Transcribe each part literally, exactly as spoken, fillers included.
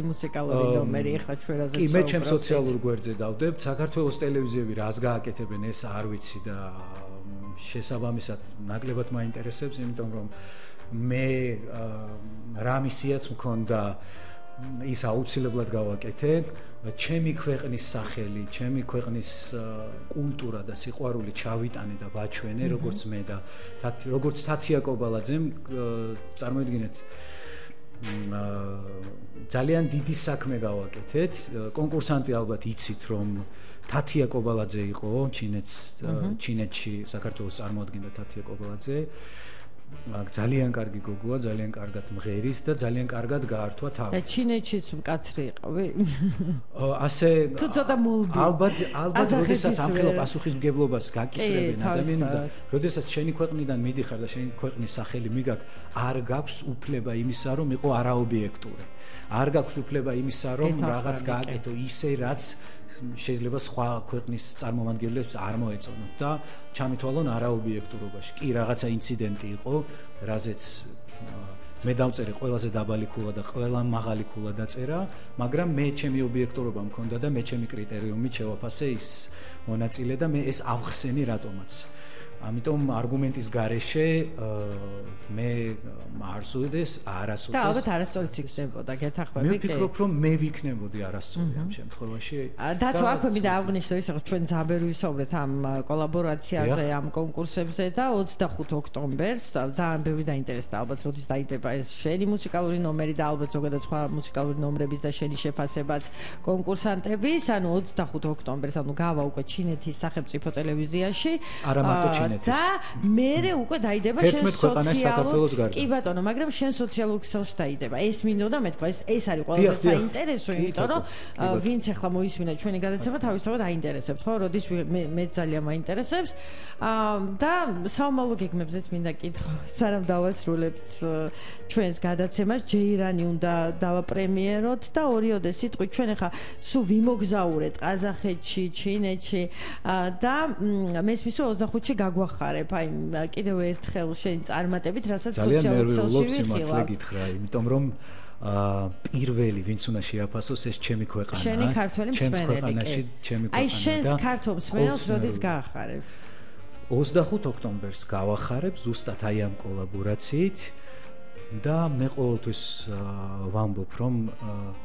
მუსიკალური ნომერი ახლა ჩვენ რაზეც კი მე ჩემ სოციალურ გვერდზე დავდებთ საქართველოს ტელევიზიები რას გააკეთებენ ეს არ ვიცი და შესაბამისად ნაკლებად მაინტერესებს იმიტომ რომ მე რა მისიაც მქონდა ის აუცილებლად გავაკეთე ჩემი ქვეყნის სახელი ჩემი ქვეყნის კულტურა და სიყვარული ჩავიტანე და ვაჩვენე როგორც მე და როგორც თათია კობალაძემ წარმოიდგინეთ ძალიან დიდი საქმე გავაკეთეთ კონკურსანტი ალბათ იცით რომ თათია კობალაძე იყო ჩინეთს ჩინეთში საქართველოს წარმოადგენდა თათია კობალაძე ძალიან კარგი გოგოა ძალიან კარგად მღერის და ძალიან კარგად გაართვა თავი და ჩინეთშიც მკაცრი იყავი ასე ცოტა მოლბი ალბათ ალბათ როდესაც ამ ხელა პასუხისმგებლობას გაკისრებენ ადამიანები და როდესაც შენი ქვეყნიდან მიდიხარ და შენი ქვეყნის სახელი მიგაკ არ გაქვს უფლება იმისა რომ იყო არაობიექტური არ გაქვს უფლება იმისა რომ რაღაც გააკეთო ისე რაც შეიძლება სხვა ქვეყნის წარმომადგენლებს არ მოეწონოთ და ჩამითვალონ არაობიექტურობაში. კი, რაღაცა ინციდენტი იყო, რაზეც მე დავწერე ყველაზე დაბალი ქულა და ყველა მაღალი ქულა დაწერა, მაგრამ მე ჩემი ობიექტურობა მქონდა და მე ჩემი კრიტერიუმით შევაფასე ის მონაწილე და მე ეს ავხსენი რატომაც. ამიტომ არგუმენტის გარეშე მე არასოდეს არასოდეს და ალბათ არასწორიც იქნებოდა გეთახმები მე ვფიქრობ რომ მე ვიქნებოდი არასწორი ამ შემთხვევაში დათო აქვე მინდა აღვნიშნო ის რომ ჩვენ ძალიან ვისაუბრეთ ამ კოლაბორაციაზე ამ კონკურსებზე და ოცდახუთ ოქტომბერს ძალიან ბევრი დაინტერესდა ალბათ როდის დაიდება ეს შენი მუსიკალური ნომერი და ალბათ ზოგადად სხვა მუსიკალური ნომრების და შენი შეფასებაც კონკურსანტების ანუ ოცდახუთ ოქტომბერს ანუ გავა უკვე ჩინეთის სახელმწიფო ტელევიზიაში არა მარტო ჩინეთის და მერე უკვე დაიდება შენ სოციალურ კი ბატონო მაგრამ შენ სოციალურ ქსელში დაიდება ეს მინდოდა მეთქვა ეს ეს არის ყველაზე საინტერესო იმიტომ რომ ვინც ახლა მოისმინა ჩვენი გადაცემა თავისთავად აინტერესებს ხო როდის მე ძალიან მაინტერესებს და საომალო გეგმებზეც მინდა კითხო სანამ დავასრულებთ ჩვენს გადაცემას ჯეირანი უნდა დავაპრემიეროთ და ორიოდე სიტყვით ჩვენ ახლა სულ ვიმოგზაურეთ ყაზახეთში ჩინეთში და მესმის რომ ოცდახუთში გაგვახარებ აი კიდევ ერთხელ შენი წარმატებით რასაც სოციალურ ქსელში ვიხილავ გითხრა იმიტომ რომ პირველი ვინც უნდა შეაფასოს ეს ჩემი ქვეყანა შენი ქართველი მსმენელი ჩემი ქვეყანა აი შენს ქართულ მსმენელს როდის გაახარებ ოცდახუთ ოქტომბერს გავახარებ ზუსტად აი ამ კოლაბორაციით და მე ყოველთვის ვამბობ რომ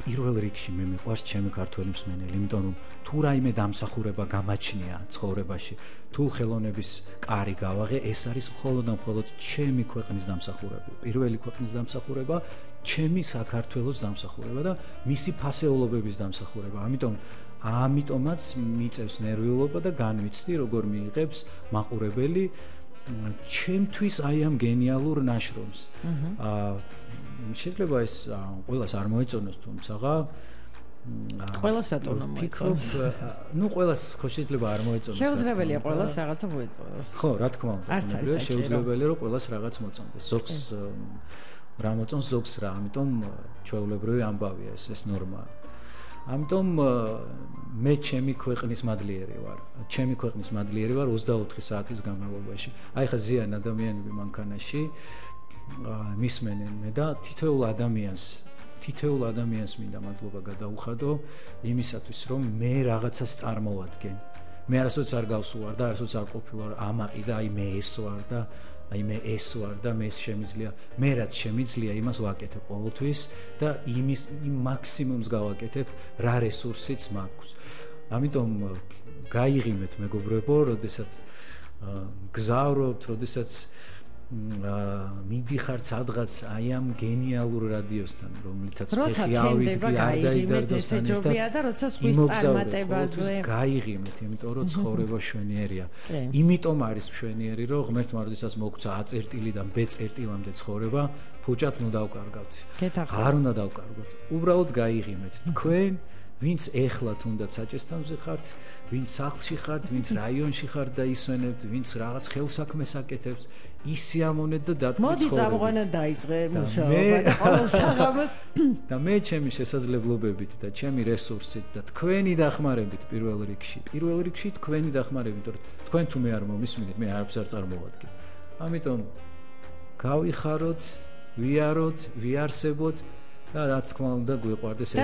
პირველ რიგში მე მიყვარს ჩემი ქართველი მსმენელი იმიტომ რომ თუ რაიმე დამსახურება გამაჩნია ცხოვრებაში თუ ხელოვნების კარი გავაღე ეს არის მხოლოდ და მხოლოდ ჩემი ქვეყნის დამსახურება პირველი ქვეყნის დამსახურება ჩემი საქართველოს დამსახურება და მისი ფასეულობების დამსახურება ამიტომ ამიტომაც მიწევს ნერვიულობა და განვიცდი როგორ მიიღებს მაყურებელი ჩემთვის აი ამ გენიალურ ნაშრომს. აა შეიძლება ეს ყველას არ მოეწონოს თუმცა ყველას რატომ მოეწონოს? ნუ ყველას ხო შეიძლება არ მოეწონოს. შეუძლებელია ყველას რაღაცა მოეწონოს. ხო, რა თქმა უნდა. შეუძლებელია რომ ყველას რაღაც მოწონდეს. ზოგს რა მოწონს, ზოგს რა. ამიტომ ჩვეულებრივი ამბავია ეს ეს ნორმაა. ამიტომ მე ჩემი ქვეყნის მადლიერი ვარ. ჩემი ქვეყნის მადლიერი ვარ ოცდაოთხი საათის განმავლობაში. აი ხა ზიან ადამიანები მანქანაში მისმენენ მე და თითოეულ ადამიანს თითოეულ ადამიანს მინდა მადლობა გადაუხადო იმისათვის რომ მე რაღაცას წარმოვადგენ. მე არასოდეს არ გავსუვარ და არასოდეს არ ყოფილვარ ამაყი და აი მე ეს ვარ და აი მე ეს ვარ და მე შემიძლია მე რაც შემიძლია იმას ვაკეთებ ყოველთვის და იმის იმ მაქსიმუმს გავაკეთებ რა რესურსიც მაქვს. ამიტომ გაიღიმეთ მეგობრებო, როდესაც გზავრობთ, როდესაც მიდიხართ სადღაც აი ამ გენიალურ რადიოსთან, რომლითაც ფეხი ავიდგე არ დაიდარდოს ესეჯობია და როცა სხვის წარმატებაზე გაიღიმეთ, იმიტომ რომ ცხოვრება მშვენიერია. იმიტომ არის მშვენიერი, რომ ღმერთმა როდესაც მოგცა A წერტილიდან B წერტილამდე ცხოვრება, ფუჭად ნუ დავკარგავთ. არ უნდა დავკარგოთ. უბრალოდ გაიღიმეთ. თქვენ ვინც ეხლა თუნდაც საჭესთავზე ხართ, ვინც სახლში ხართ, ვინც რაიონში ხართ და ისვენებთ, ვინც რაღაც ხელსაქმეს აკეთებს, ისიამონეთ და დათქვით. მოდი წამყვანა დაიწყე მუშაობა და ყოველ საღამოს და მე ჩემი შესაძლებლობებით და ჩემი რესურსით და თქვენი დახმარებით პირველ რიგში, პირველ რიგში თქვენი დახმარებით, რომ თქვენ თუ მე არ მომისმინეთ, მე არაფერს არ წარმოვადგენ. ამიტომ გავიხაროთ, ვიაროთ, ვიარსებოთ და რაც თქმა უნდა გვიყვარდეს ერთმანეთს. და